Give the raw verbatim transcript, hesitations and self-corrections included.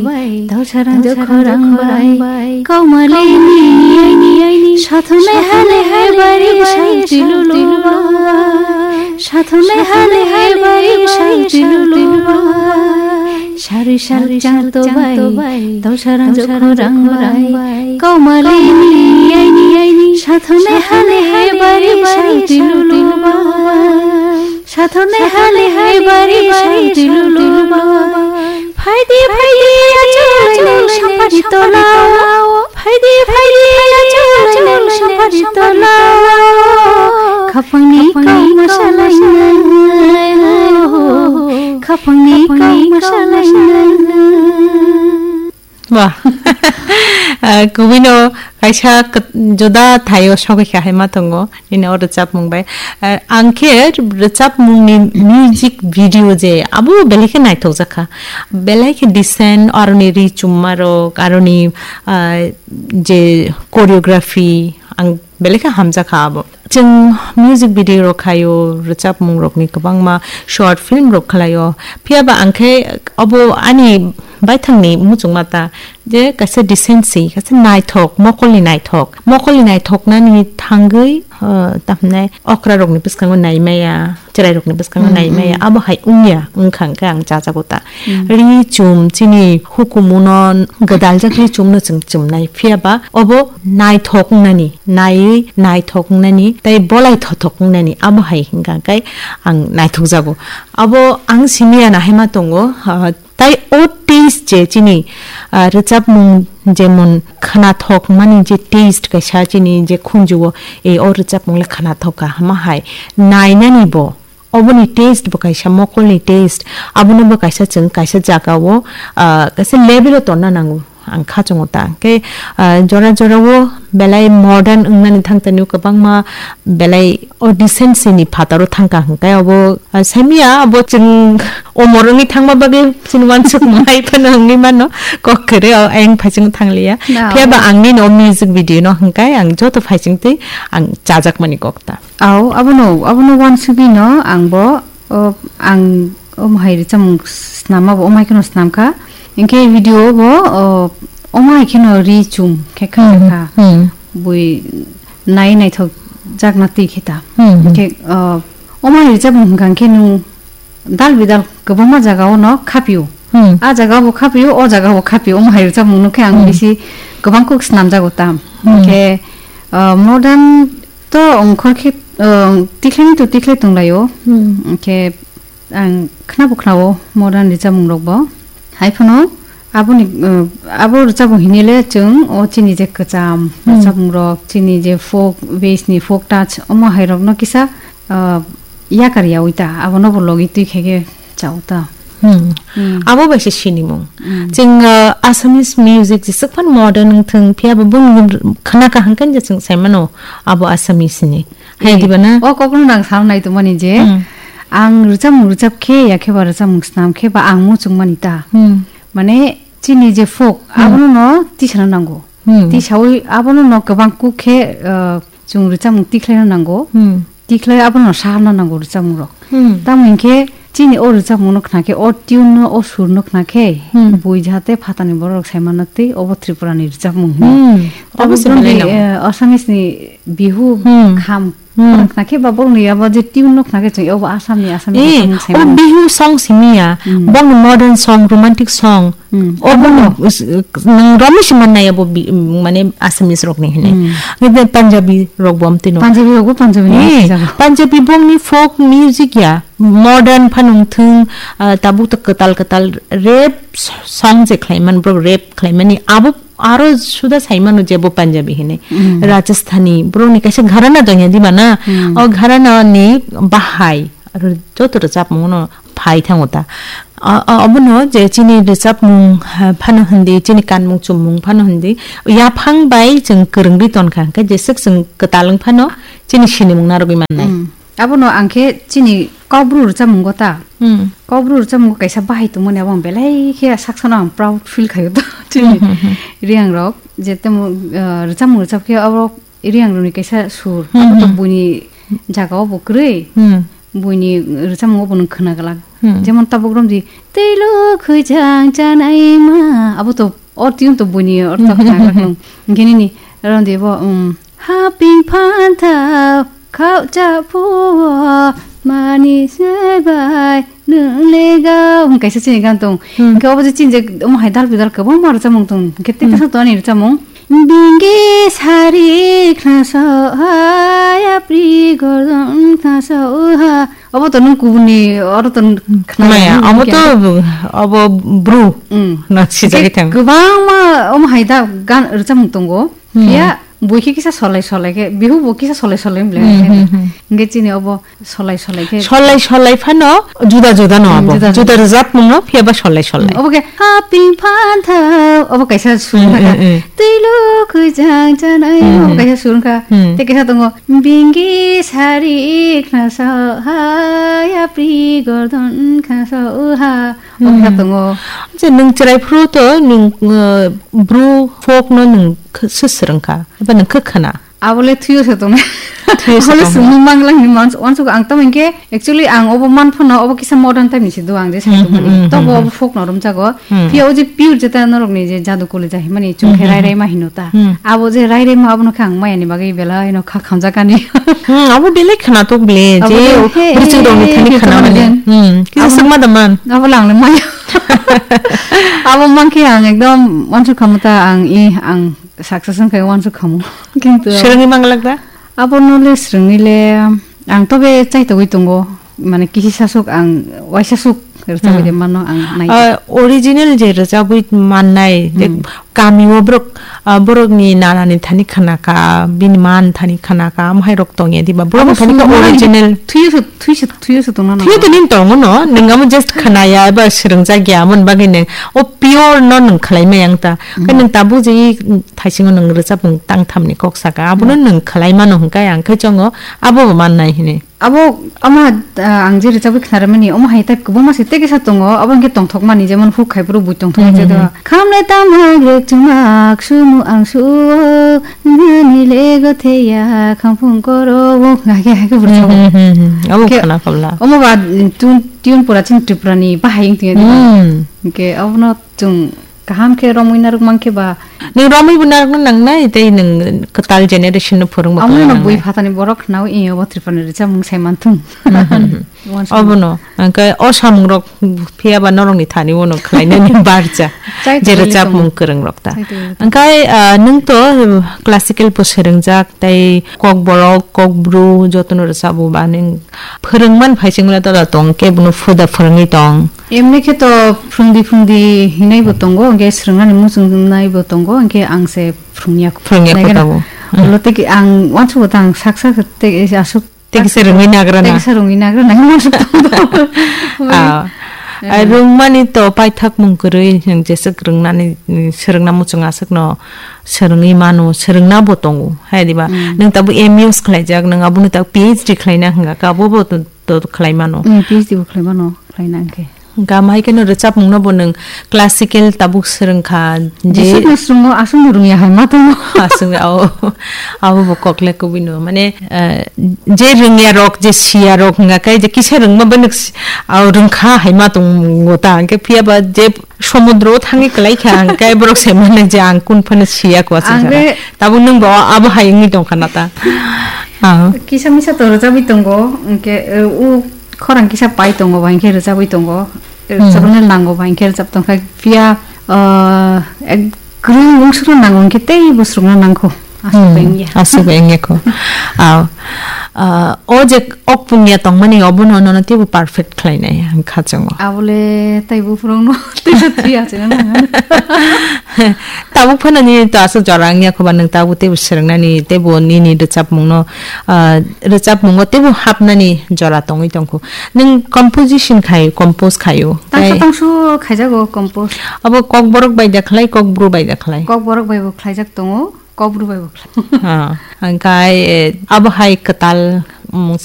Dausarang jokhorang bai, kaumalini sathonai hale hale bari santi lulu bai. Sathonai hale hale bari santi lulu bai. Sari sari chang to bai, dausarang jokhorang bai, kaumalini sathonai hale hale bari santi lulu bai. Sathonai hale hale bari santi lulu bai. Phaidi phaidi achulai nang sampari tolao. Phaidi phaidi achulai nang sampari tolao. Khapangni kau masalainai. Khapangni kau masalainai. Wah. Ah, kubui no kaisa kwt-, juda thaio sogwi kha hai ma tongo nini o rwchapmung bai. Ah, ang khe rwchapmung ni music video je abo belai khe naithok jakha, belai khe decent, aroni ri chumma rok, aroni, ah, je choreography ang belai khe hamjakha abo. Chwng music video rok khaio, rwchapmung rokni kwbangma short film rok khlaio. Phiya ba ang khe abo ani baithangni muchungma ta je kaisa decency, kaisa naithok, mokolni naithok. Mokolni naithoknani thangwi, uh, tamhinai okra rokni bwskango naimaya, chwrai rokni bwskango Hmm, naimaya, hmm. Abo hai wngya, wngkha hwnkhe ang chajago ta. Hmm. Ri chum chini hukumuno gwdaljak ri chumno chwng chumnai. Phiya ba obo naithok wngnani, naiwi naithok wngnani, tei bolai thothok wngnani, abo hai hwnkha khe ang naithokjago. Abo ang simi ya nahaima tongo, ah, tei o taste je chini, ah, rwchapmung jemon khwnathok mani je taste kaisa chini je khunjuo, e o rwchapmung le khwnathok kha hama hai nainani bo. Oboni taste bo kaisa mokolni taste. Abono bo kaisa chwng kaisa jagao, ah, kaisa level o tonna nango. Ang kha chwngo ta. Khe, ah, jora jorao belai modern wngnani thang tanio kwbangma belai o decency ni phataro thang ka hwnkhe abo, ah, saimiya abo chwng omor wngwi thangma bagwi chini wansuk mai phano wngwi mano kok kwrwi o ayang phaichung thangliya. No. Phiya ba ang nini o music video no hwnkhe ang joto phaichung twi ang chajakmani kok ta. Au, abono, abono wansugwi no ang bo, o, ang omo hai rwchapmung snamma bo omo hai kheno snam kha. Hinkhe video bo, o, omo hai kheno ri chum khe kha Hmm, kha. Hmm. Bui nai naithok jakna twi khe ta. Hmm, hmm. Hinkhe, o, omo hai rwchapmung hwnkha khe nwng dal bidal kwbangma jagao no khapio. Hmm. A jagao bo khapio, o jagao bo khapio. Omo hai rwchapmung no khe ang Hmm. bisi kwbang kuk snamjago ta. Hmm. Hinkhe, o, modern To ongkhor khe, uh, tikhlai to tikhlai tonglaio. Hmm. Khe ang khnabo khnao modern rwchapmung rokbo. Hai phano aboni, uh, abo rwchapmung hinile chwng o chini je kwcham Hmm. rwchapmung rok, chini je folk base ni folk touch omo hai rokno kisa, uh, yakar yaui ta, abono bo logi twi khe khe chao ta. Hmm. Hmm. Abo bai se sinimung. Hmm. Chwng, uh, Assamese music jeswk phano modern wng thung, phiya bo boni khna kaham khe je chwng sai mano abo Assamese ni. Hai Eh, diba na? O kokno nang sal nai tongmani je, Hmm. ang rwchapmung rwchap khe ya khe ba rwchapmung snam khe ba ang muchung mani ta. Hmm. Mane chini je folk, Hmm. abono no tisana nango. Hmm. Tisaui abono no kwbang kuk khe, uh, chwng rwchapmung tikhlaina nango. Hmm. Tikhlai abono saharna nango rwchapmung rok. Hmm. Tamo hinkhe chini o rwchapmung no khna khe, o tune no, o sur no khna khe, Hmm. bui jahate phatani borok rok sai manna twi obo Tripura ni rwchapmung hwnwi. Hmm. Tabuk Obo se belai jodi, nango. Eh, Assamese ni Bihu Hmm. kham Hmm. khna khe ba borok ni abo je tune no khna khe chwng obo Assam ni, Assam ni Eh, rwchapmung sai o mano. Bihu song simi ya, Hmm. bong modern song, romantic song, Hmm. Obo no, Obo no. Is-, nang romwi se mannai abo bi-, mane Assamese rokni hinwi. Hmm. Ngi de Punjabi rok bo amtwi no. Punjabi rok bo Punjabi ni Eh, sijak. Punjabi bongni folk music ya, modern phano wngthung, ah, tabuk ta kwtal kwtal rap s-, song je khlaiman, borok rap khlaimani abo aro suda saimano je bo Punjabi hinwi. Hmm. Rajasthani, borokni kaisa gharana dongya diba na? Hmm. O gharana ni bahai. Aro joto rwchapmung no phai thango ta. A, a, obono je chini rwchapmung, ha, phano hindi, chini kanmung chummung phano hindi, yaphang bai chwng kwrwngwi tonkha, hwnkhe jeswk chwng kwtal wng phano chini sinimung narwgwi mannai. Hmm. Abono ang khe chini Kokbru rwchapmungo ta. Hmm. Kokbru rwchapmungo kaisa bahai tongmani abo ang belai khe saksano ang proud feel khaio ta. Chini Hmm, hmm, hmm. Riang rok je temo, ah, rwchapmung rwchap khe abo Riang rokni kaisa sur. Hmm, Abo to hmm. buini jagao bo kwrwi. Hmm. Buini rwchapmungo bo nwng khna glak. Hmm. Jemon tabuk romdi, "Tei lo khujang chanai ma." Abo to or tune to buini or to khna krak nung. Gini ni romdi bo, um, "Haping phantha khao cha phuo mani sebai nung lega." Hwn kaisa chini gan tong. Hmm. Hwnkhe obo je chini je omo hai dal bidal kwbangma rwchapmung tong. Hwnkhe tei Hmm. kaisa tongni rwchapmung. Bingi sari khnaso ha, yapri gordon khnaso ha. Obo to nung kubuni, oro to khna Maya, nung obo khe. To, obo bru. Mm. Na sijak Hwnkhe ithang. Kwbangma omo hai da gan rwchapmung tongo. Hmm. Phiya bui khe kisa solai solai khe, bihu bo kisa solai solai wng le Hmm, khe. Hmm, hmm. Hwnkhe chini obo Solai solai khe. Solai solai phano juda juda no Hmm, abo. Juda juda. Juda rwchapmung no phiya ba solai solai. Hmm, obo khe haping phantha, obo kaisa sur Hmm, kha. Hmm, hmm. Twi lo khujang chanai, Hmm, obo hmm. kaisa sur kha. Hmm. Tei kaisa tongo, bingi sari khnaso ha, yapri gordon khnaso ha. Obo kha Hmm. tongo. Je nwng chwrai phuru to nwng, uh, bru folk no nwng kh-, swswrwng kha. Eba nwng khe khna. Abole thuyo se tong. Thuyo se Abole tong. Sumung manglang ni mans-, wansuk ang tamo hinkhe, actually ang obo man phano obo kisa modern type ni se do ang je sai Hmm, tong mani. Hmm, Tobo hmm, obo folk no romjago. Hmm. Phiya o je pure jeta norok ni je jadu kuli jahimani chwng khe Hmm, hmm, rai rai hmm. ma hino ta. Hmm. Abo je rai rai ma abono khe ang maya ni bagwi belai no kha khamjakani. Hmm, abo belai khna tok ble Abo je je, he, brichuk rok ni he, thani he, khna khna mani. Jen. Hmm, kisa Abo sakma da man. Abo lang le maya. Abo man khe ang ekdom wansuk khamu ta ang i ang Success wngkha wansuk khamu. Kintu Swrwngwi manglak da? Abono le swrwngwi le ang tobe chaitogwi tongo. Mane kisi sasuk ang waisa suk rwchapwi Hmm. de mano ang nai. Ah, original je rwchapwi mannai, je Hmm. kami o borok, ah, borokni nanani thani khanaka, bini man thani khanaka, amhai rok tongya diba? Borok Abo thani ka sumung original. Thuyo se, thuyo se, thuyo se tongna Thuyo nango. Tini tongo no, nung amo just khanaya eba swrwngjak ya, amoni bagwi nung o pure no nung khlai maya wng ta. Khe Hmm. nung tabuk je i thaisingo nung rwchapmung tangthamni kok saka, abono Hmm. nung khlai mano hwnkhe ang khe chongo, abo bo mannai hini. Abo, omo, ah, ang je rwchapwi khnarwmani, omo hai type kwbangma se tei kisa tongo, abo hwnkhe tongthokmani, jemon huk hai phuru bui tongthokma Hmm, je hmm, do. hmm. Khamle tam hai grek chumak sumu ang suo, nini lego theya khamphung koro, o hai khe, hai khe Hmm, rwchapo. hmm, hmm, hmm. Abo Khe, khna kabla. omo ba, tun-, tune pura chini Tripura ni bahai wng tongya di ba? Hmm. Hwnkhe abono Chwng kaham khe romwi narwk mankhe ba. Nwng romwi bo narwkna nangnai, tei nwng kwtal generation no phwrwngma Amo no kwlai bui nangnai. Phatani borok khnaui, "Ee, obo Tripura ni rwchapmung sai manthung." Hmm, hmm, hmm. Obono, hwnkhe o samung rok phiya ba norok ni thani uano khlainani barja. Chai Je tongwi rwchapmung tongwi. Kwrwng rok ta. Chai tongwi tongwi. Hwnkhe, ah, nwng to, eh, classical bo swrwngjak, tei kokborok, kokbru jotono rwchabo ba nwng phwrwngman phai singla tola tong khe bono phuda phwrwngwi tong. Emni khe to phwrwngdi phwrwngdi hinai bo tongo, hwnkhe swrwngnani muchungnai bo tongo, hwnkhe ang se phwrwngya. Phwrwngya Naikhe kho na, tabuk. Ulo tei ki ang uansukgo tang sak sak tei aswk Tei kisa rwngwi nagra na. Tei kisa rwngwi nagra na, uansuk tongo. Ah. Eh. Ai rwngmani to paithakmung kwrwi, nwng jeswk rwngnani, mm, swrwngna muchung aswkno swrwngwi mano, swrwngna bo tongo, hai diba? Mm. Nwng tabuk M E use khlaijak, nwng abono tabuk P H D khlaina hwnga kha, abo bo to, to khlai mano. Mm, P H D bo khlai mano, khlaina hwnkhe. Hwnkha, amahai kheno rwchapmungno bo nwng classical tabuk swrwngkha, je Jesukno swrwngo, aswkno rwngya hai ma tongo. Aswk, ao, abo bo kokle kubui no. Mane, eh, je rwngya rok, je siya rok hwnga khe, je kisa rwngma bai nwk si-, ao rwngkha hai ma tongo ta. Hwnkhe phiya ba je somudro o thangwi kwlai kha, hwnkhe borok se mane je ang kun phano siya kwasing Ang sana. Be Tabuk nwng bo abo hai wngwi tongkha na ta? Ah. Kisa misa to rwchapwi tongo, hwnkhe, eh, u khorang kisa pai tongo ba, hwnkhe rwchapwi tongo. Eh, Hmm. Rwchapna nango ba, hwnkhe rwchap tongkha. Phiya, eh, ek kwrwng wngsukna nango, hwnkhe tei bo swrwngna nangkho. Aswk Hmm. bai wngya. Aswk bai wngya kho. Ah. Ah, o je ok punya tongmani obono nono teibo perfect khlainai ang khachongo. Abole tei buphurungno teisa thwi achina nang. Tabuk phano nini to aswk jora wngya kho ba nwng tabuk teibo swrwngnani teibo nini rwchapmungno, ah, rwchapmungo teibo hapnani jora tongwi tongkho. Nwng composition khai, compose khaio. Tangsa Tei tangsu khaijago compose. Abo kokborok bai da khlai, kokbru bai da khlai? Kokborok bai bo khlaijak tongo. Kokbru bai bo khlai. Ah, hwnkhe, eh, abo hai kwtal, mm,